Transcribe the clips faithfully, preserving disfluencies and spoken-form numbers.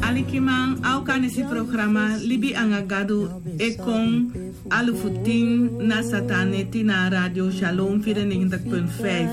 Alikiman, a o kan nesi programa Libi anga Gadu e kon alufu tin na satan neti na Radio Shalom vierennegentig punt vijf.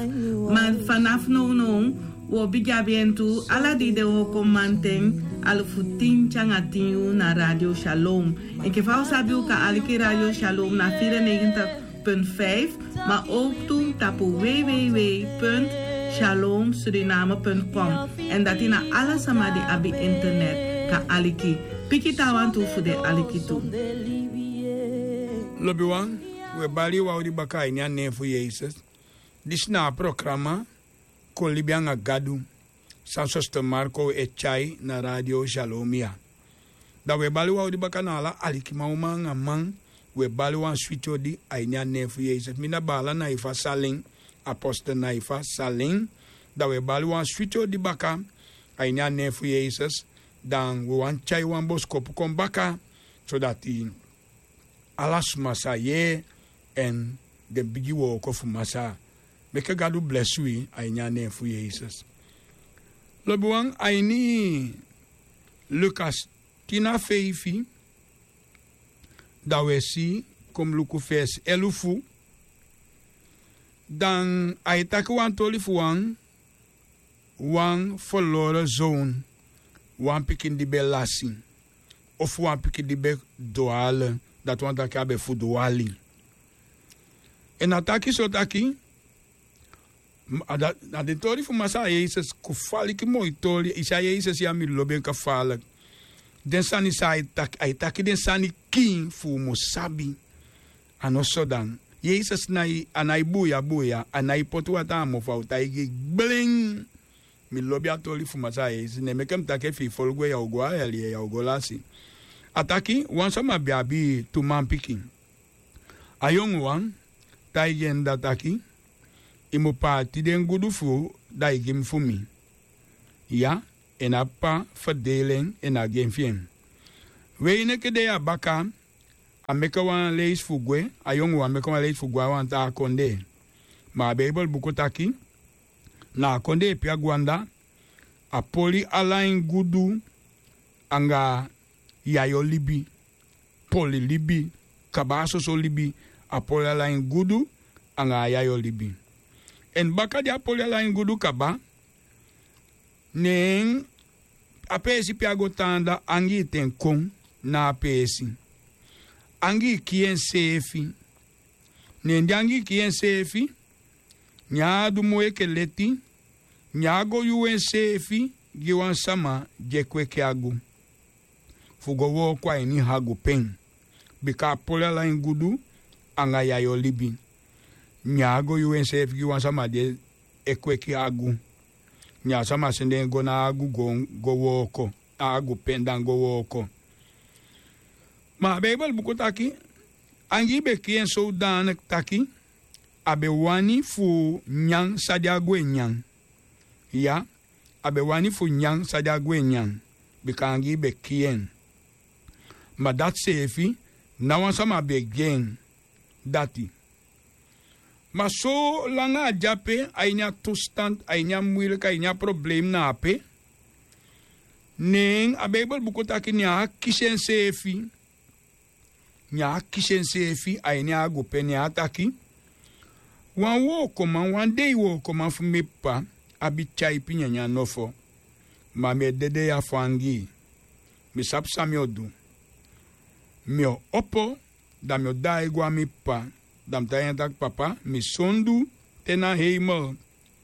Ma vanaf nownow, wi o bigin abi en tu ala dei de wooko manten alufu tin te anga tin yuu na Radio Shalom. Enke fa u sabi u kan aliki Radio Shalom na vierennegentig punt vijf, ma ook tu tapu www punt shalom suriname punt com. En dati na ala sama di abi internet kan aliki. Piki taawan tu fu den aliki tu. Lobiwan, wi e bali yu wan odi baka a ini a nen fu Yesus. Disi na a programa Kon libi anga Gadu, san Sosten Marko e tyai na Radio Shalom ya. Da wi e bali wan odi baka na ala alikiman, uman anga man. Wi e bali wan switi odi a ini a nen fu Yesus. Mi na baala Naifa Salen, apostel Naifa Salen. Da wi e bali wan switi odi baka a ini a nen fu Yesus. Dan wi wani tyai wan bosikopu kon baka, sodati ala suma sa yee en den bigi wooko fu Masaa. Meke Gadu blesi wi a ini a nen fu Yesus. Lobiwan, a ini Lukas tin na feifi, da wi e si, kon mi luku fesi elufu. Dan a e taki wan toli fu wan wan verloren zoon, wan pikin di ben lasi, ofu wan pikin di ben dwale, dati wani taki a ben fudwali. En a taki so taki, m-, a da-, na den tori fu Masaa Yesus, kufaliki moi tori, i si a Yesus ya mi lobi en kafaliki. Den sani san a e taki, a e taki den sani kiin fu u mu sabi. A no so dan. Yesus nái, a nái buya buya, a nái poti wataa a mofu, a o taigi gblen. Mi lobi a toli fu Masaa Yesus, ne meke mi taki efu i folo gwe ya o go a yali, ya o go lasi. A taki, wan sama be abi tu manpikin. A yonguwan taigi en dda taki, i mu paati den gudu fu u, da i gi mi fu mi. Ya, en a p'pa ferdeli en, en a gi en fi en. Wei neke dei a baka, a meke wan leisi fu gwe, a yonguwan meke wan leisi fu gwe a wan taa kondee. Ma a Beibel buku taki, na a kondee pe a gwe anda, a poli ala en gudu anga yayo libi, poli libi, kaba a soso libi, a poli ala en gudu anga a yayo libi. En baka di a poli ala en gudu kaba, ne en a peesi pe a go tan anda, angii ten kon na a peesi. Angii kii enseefi. Ne di angii kii enseefi, ne a du moi enke leti, ne a go yuu enseefi gi wan sama di e kweki agu fu go wooko a ini agu pen. Bika a poli ala en gudu anga yayo libi. Ne a go yuu enseefi gi wan sama di e kweki agu. Ne a sama sende en go na agu go, go wooko, a agu pen dan go wooko. Ma a Beibel buku taki, angii be kii en sodanik taki, a be wani fu nyan san di a gwe nyan. Ya, a be wani fu nyan san di a gwe nyan, bika angii be kii en. Ma dati seefi, ná wan sama be gi en dati. Ma solanga a de ape, a ini a toestand, a ini a moeilijk, a ini a probleem na ape, ne a Beibel buku taki ne a kisi enseefi. Ne a kisi enseefi a ini a agu pen, ne a taki: Wan wookoman, wan dei wookoman fu mi p'pa abi tyaipi nyanyan nofo. Ma mi e dede ya fu angii. Mi sabi san mi o du. Mi o opo, da mi o daai go a mi p'pa, da mi taigi en taki: Papa, mi sondu te na heimel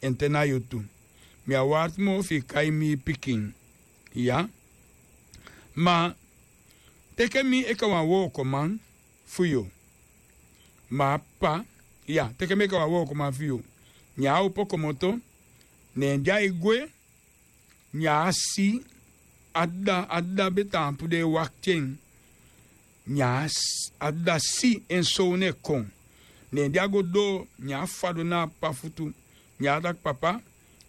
èn te na yu tu. Mi á warti moo fu i kai mi pikin. Ya. Ma teke mi enke wan wookoman fu yu. Ma a p'pa, ya, teke mi enke wan wookoman fu yu. Ne a opo komoto, ne di ai gwe, ne a si a dda, a dda be taampu de e wakti en. Ne a s-, a dda si en sownu e kon. Ne di a go doo, ne a fadon na a p'pa futu. Ne a taki: Papa,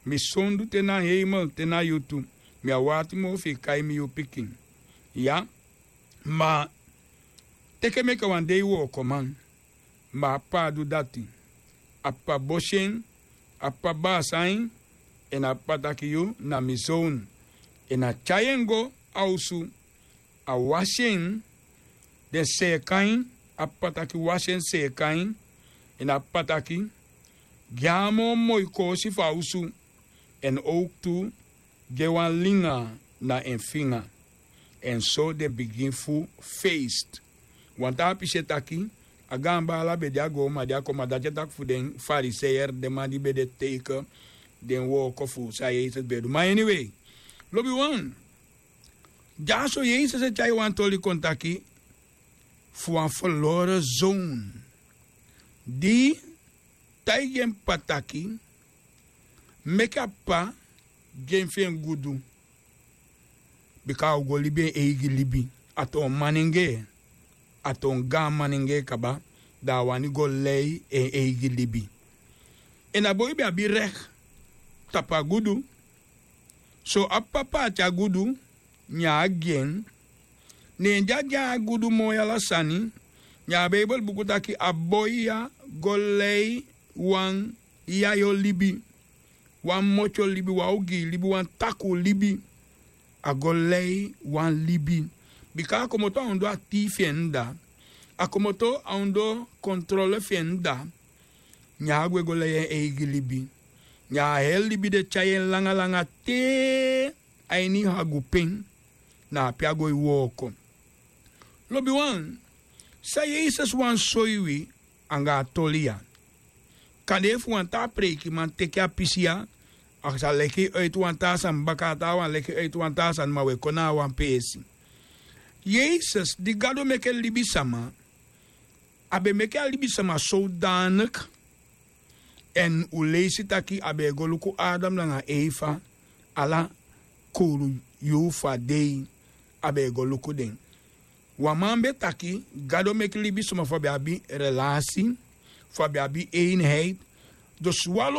mi sondu te na heimel, te na yu tu. Mi á warti moo fu i kai mi yu pikin. Ya. Ma teke mi enke wan dei wookoman. Ma a p'pa á du dati. A p'pa bosi en, a p'pa baasa en, èn a p'pa taki: Yu na mi sownu. Èn a tyai en go a osu, a wasi en, den seeka en. A p'pa taki wasi en, seeka en, èn a p'pa taki gi en a moo moi koosi fu a osu, èn owktu gi en wan linga na en finga. Èn so den bigin fu feest. Wan taa pisi e taki, a gaan baala be de, a go, ma di a kon, ma dati e taki fu den Fariseer, den man di be de teike den wooko fu san Yesus be du. Ma anyway, lobiwan, dyaso Yesus e tyai wan toli kon taki fu wan verloren zoon di taigi en p'pa taki meke a p'pa gi en fi en gudu, bika a o go libi en eigi libi. A toon manengee, a toon gaan manengee kaba, da a wani go lei en eigi libi. Èn a boi be abi rek tapu a gudu. So a p'pa paati a gudu, ne a gi en. Ne di a gi en a gudu moi ala sani, ne a Beibel buku taki a boi ya go lei wan yayo libi, wan motyo libi, wan ogii libi, wan takuu libi. A go lei wan libi. Bika a komoto a ondoo a tii fi en dda, a komoto a ondoo kontrole fi en dda. Ne a gwe go lei en eigi libi. Ne a heri libi de tyai en langa langa te a ini hagupen, na ape a go e wooko. Lobiwan, san Yesus wani soi wi anga a toli ya? Kande efu wan taa preikiman teke a pisi ya, a sa leki en uiti wan taa sani baka, a taawan leki en uiti wan taa sani, ma wi e kon na a wan peesi. Yesus di Gado meke libisama, a be meke a libisama sodanik. Èn un leisi taki a be e go luku Adam nanga Efa, ala kowru yuu fu a dei a be e go luku den. Wan man be taki Gado meke libisama fu a be abi relasi, fu a be abi einheit. Dus wan lo